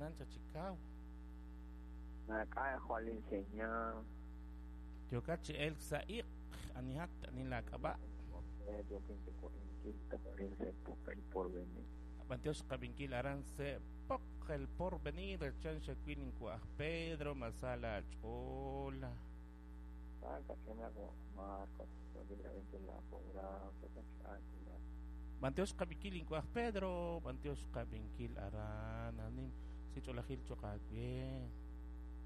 Yaab'anan cha chi kaw. Maak'a' jwal inseñal. Yookat chi elk sa' iq'. Anihat, ani laak'ab'a'? Yookin chi wa'inchil toj arin sa' El Porvenir. B'antiox qab'inkil aran se' Pok El Porvenir, chan xawil inwa' aj Pedro, ma sa laach'ool. Saaka'ch'inaq wa' Marcos, yookin rab'inkil laaprograam, yookin chi aatinak. B'antiox qab'inkil inwa' aj Pedro, b'antiox qab'inkil aran, anim si ch'oolejil cho'q aawe.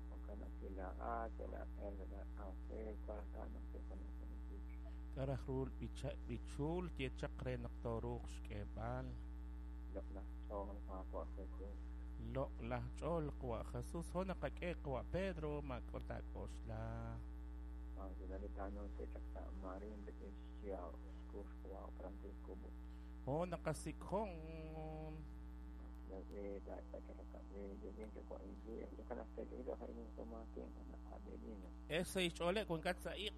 Jo'kan naq kilaa'at, kilaa'el, kilaa'anjel, wank ta naq te'junaj sa' li b'ich. K'a' raj ru b'ichul ye chaq re naq tooruuq xk'eeb'al? Loq'laj ch'ool, Qaawa' Jesus. Loq'laj ch'ool, Qawa' Jesus. Jo' naqak'e Qawa' Pedro, maak'o taak'oxla. Maansinali taanunsi chaq sa' Marin rik'in xyaab' xkux Qawa' Francisco. Jo' naqasik'jon. Ese xch'ooleb' wankat sa' iq'.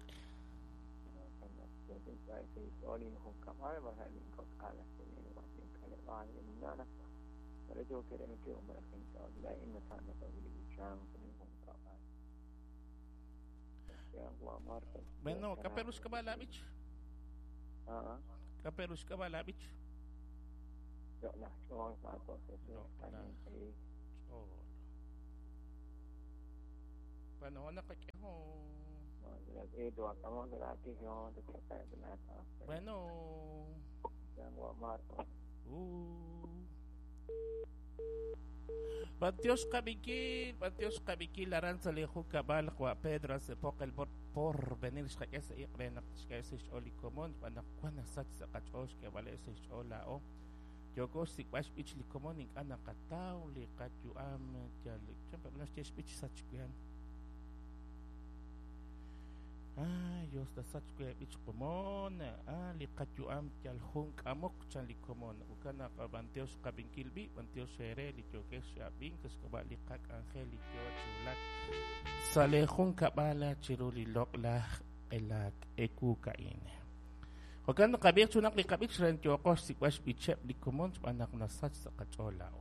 Bueno, kaperus ka ba labich? Kaperus ka ba labich? Loq'laj ch'ool, Qaawa' Jesus. Loq'laj ch'ool. Bueno, naqak'ejo. Bueno. B'antiox qab'inkil aran sa' li junkab'al Qawa' Pedro se Pok El Porvenir xqak'e sa' iq' re naq xk'e sa' xch'ool li komon xb'aan naq wan nasach sa' qach'ool xk'eeb'al sa' xch'ool laa'o. Yooko xsik'b'al xb'ich li komon ink'a' naqataw li qayu'am yal chan pe' naxye xb'ich sach wihan. Ay, Dios tasach we b'ich komon. Ah, li qayu'am yal jun k'amok chan li komon. Ukan naq b'antiox qab'inkil b'i, b'antiox eere li yookex ab'ink xk'ab'a' li qak'anjel li yoo chi wulak sa' li junkab'al chiru li loq'laj q'elak ewu ka'in. Jo'kan naqab'ij chunaq li qab'ich ren yooqo xsik'b'al xb'icheb' li komon xb'aan naq nasach sa' qach'ool laa'o.